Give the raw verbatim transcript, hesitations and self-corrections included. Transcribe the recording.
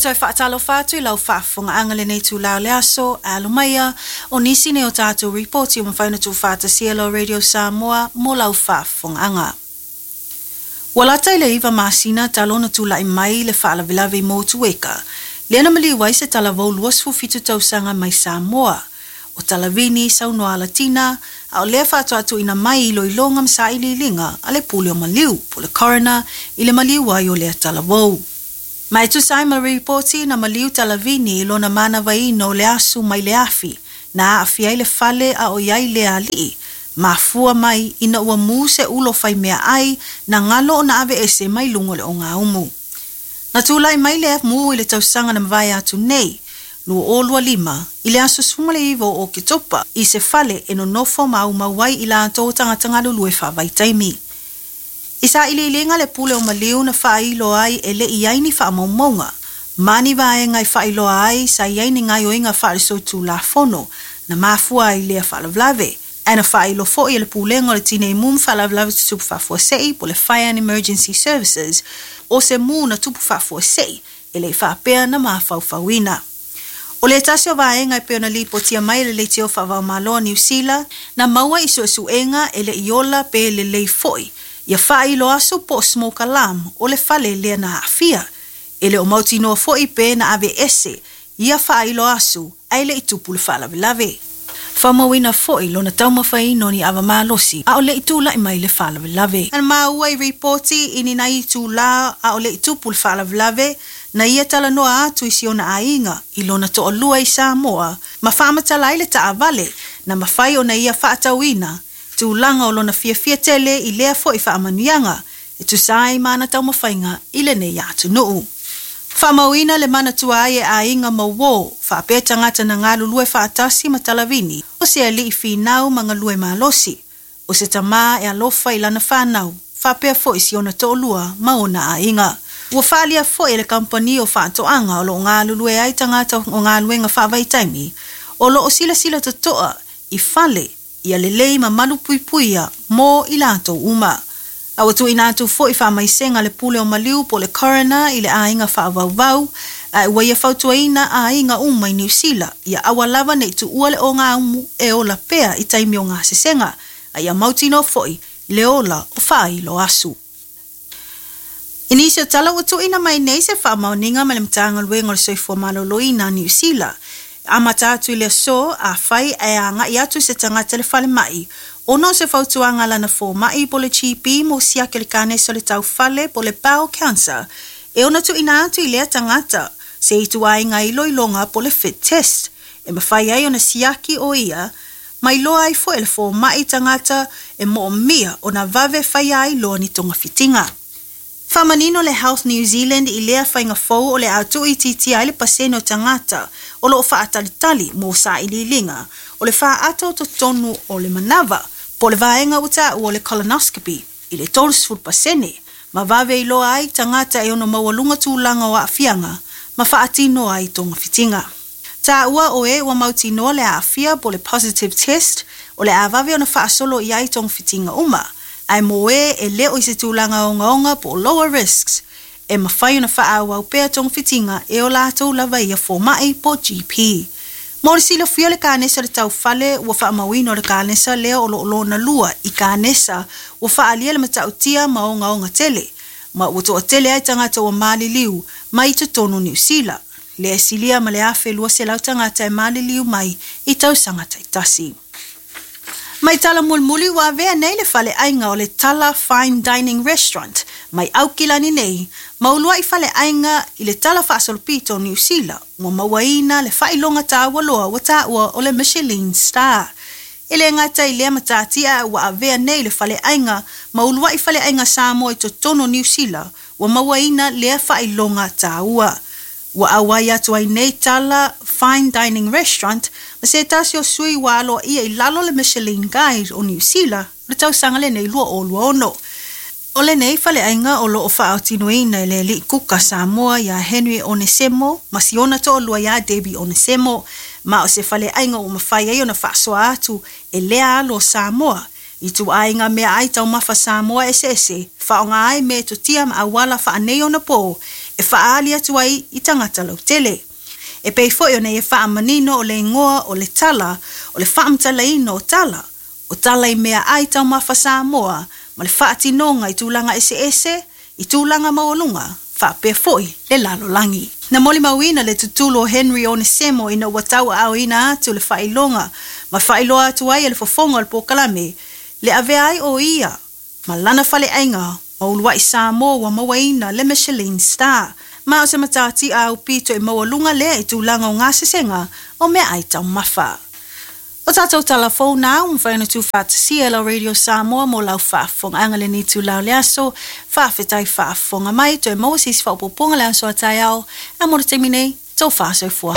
Toe faatalofa atu i lau faafofogaaga i lenei itulā o le aso. Alo maia, o nisi nei o tatou ripoti ua mafai ona tuufaatasia e lau Radio Samoa mo lau faafofogaaga. Ua lata i le iva masina talu ona tulai mai le faalavelave i Motueka, lea na maliu ai se talavou luasefulu fitu tausaga mai Samoa. O Talavini Saunoa Alatina, a o lea faatoa tuuina mai i iloiloga ma sailiiliga a le pule o maliu, po o le coroner, i le maliu ai o lea talavou. Ma e tusa ai ma ripoti, na maliu Talavini i lona manavaina o le asu mai le afi, na aafia ai le fale a o i ai lea alii, mafua mai ina ua mu se ulo faimeaai na galo ona aveese mai luga o le ogaumu. Na tulai mai lea mu i le tausaga na mavae atu nei, lua o lua lima, i le aso sefulu ma le iva o Oketopa, i se fale e nonofo maumau ai i latou tagata galulue faavaitaimi. I sailiiliga le pule o maliu na faailoa ai e le i ai ni faamaumauga, ma ni vaega e faailoa ai sa i ai ni gaoioiga faale-solitulafono na mafua ai lea faalavelave. Ae na faailoa foi e le pulega o le Tinei Mu ma Faalavelave Tutupu Faafuasei po o le Fire and Emergency Services, o se mu na tupu faafuasei e le i faapea na mafaufauina. O le tasi o vaega e pei ona lipotia mai e le leitio faava-o-Malo a Niu Sila, na maua i suesuega e le i ola pe lelei foi ia faailo asu po o smoke alarm o le fale lea na aafia. E le o mautinoa foi pe na aveese ia faailo asu ae le i tupu le faalavelave. Faamauina foi lona taumafaina o ni ava malosi a o le i tulai mai le faalavelave. Na maua i ripoti i ni nai itulā a o le i tupu le faalavelave, na ia talanoa atu i si ona aiga i lona toalua i Samoa ma faamatala ai le taavale na mafai ona ia faatauina tulaga o lona fiafia tele i lea foi faamanuiaga e tusa ai ma ana taumafaiga i lenei atunuu. Faamauina le manatua ai e aiga ma uō, faapea tagata na galulue faatasi ma Talavini, o se alii finau ma galue malosi, o se tamā e alofa i lana fanau, faapea foi si ona toalua ma ona aiga. Ua faaalia foi e le kamupani o faatoaga o lo o galulue ai tagata o galuega faavaitaimi, o lo o silasila totoa i fale ia lelei ma malupuipuia mo i latou uma. A ua tuuina atu foi faamaisega a le pule o maliu po o le coroner i le aiga faavauvau, ae ua ia fautuaina aiga uma i Niu Sila ia aua lava ne i tuua le ogaumu e ola pea i taimi o gasesega, a ia mautinoa foi le ola o faailo asu. I nisi o tala ua tuuina mai nei se faamaoniga mai le Matagaluega o le Soifua Maloloina a Niu Sila, amata atu i le aso, afai ae agai atu se tagata i le falemai ona o se fautuaga a lana fomai po o le G P mo siaki o le kanesa o le taufale po o le bowel cancer, e ono tuuina atu i lea tagata se ituaiga iloiloga po o le fit test, e mafai ai ona siaki o ia, ma iloa ai foi e le fomai tagata e moomia ona vave faia ai loa ni togafitiga. Faamanino le Health New Zealand i lea faiga fou o le a tuuitiitia ai le pasene o tagata o lo o faatalitali mo sailiiliga o le faaata o totonu o le manava po o le vaega ua taua o le colonoscopy i le tolusefulu pasene, ma vave iloa ai tagata e ono maualuga tulaga o aafiaga ma faatino ai togafitiga. Taua o e ua mautinoa le aafia po o le positive test o le a vave ona faasolo i ai togafitiga uma, ae mo e e le o i se tulaga ogaoga po o lower risks, e mafai ona faaauau pea togafitiga e o latou lava ia fomai po o G P. Mo le silafia o le kanesa o le taufale ua faamauina o le kanesa lea o lo o lona lua i kanesa ua faaalia le matautia ma ogaoga tele, ma ua toatele ai tagata ua maliliu mai totonu Niu Sila, lea e silia ma le afe luaselau tagata e maliliu mai i tausaga taitasi. Mai tala mulimuli ua avea nei le faleaiga o le Tala Fine Dining Restaurant mai Aukilani nei, ma uluai faleaiga i le tala faasolopito o Niu Sila, ua mauaina le faailoga taua loa ua taua o le Michelin Star. E le gata i lea matatia ua avea nei le faleaiga ma uluai faleaiga Samoa i totonu Niu Sila, ua mauaina lea faailoga taua. Ua auai atu ai nei Tala Fine Dining Restaurant ma se tasi o sui ua aloaia i lalo le Michelin Guide o Niu Sila le tausaga lenei lua o lua ono. O lenei faleaiga o lo o faaotinoina e le alii kuka Samoa ia Henry Onesemo ma si ona toalua ia Debbie Onesemo, ma o se faleaiga ua mafai ai ona faasoa atu e lea alo o Samoa i ituaiga meaai taumafa Samoa eseese, faaaoga ai metotia ma auala faanei ona po E faaali atu ai i tagata lautele. E pei foi ona ia faamanino o le igoa o le tala, o le faamatalaina o tala, o tala i meaai taumafa Samoa ma le faatinoga i tulaga eseese, i tulaga maualuga, faapea foi le lalolagi. Na molimauina le tutulu o Henry Onesemo ina ua tauaaoina atu le faailoga ma faailoa atu ai e le fofoga o le polokalame le avea ai o ia ma lana faleaiga ma uluai Samoa ua mauaina le Michelin Star. Ma o se matatia aupito i maualuga lea i tulaga o gasesega o meaai taumafa. O tatou tala fou na ua mafai ona tuufaatasia e lau Radio Samoa mo lau faafofogaaga lenei itula o le aso. Faafetai faafofoga mai, toe maua se isi faaopoopoga le aso a taeao. A mo le taimi nei, tofa soifua.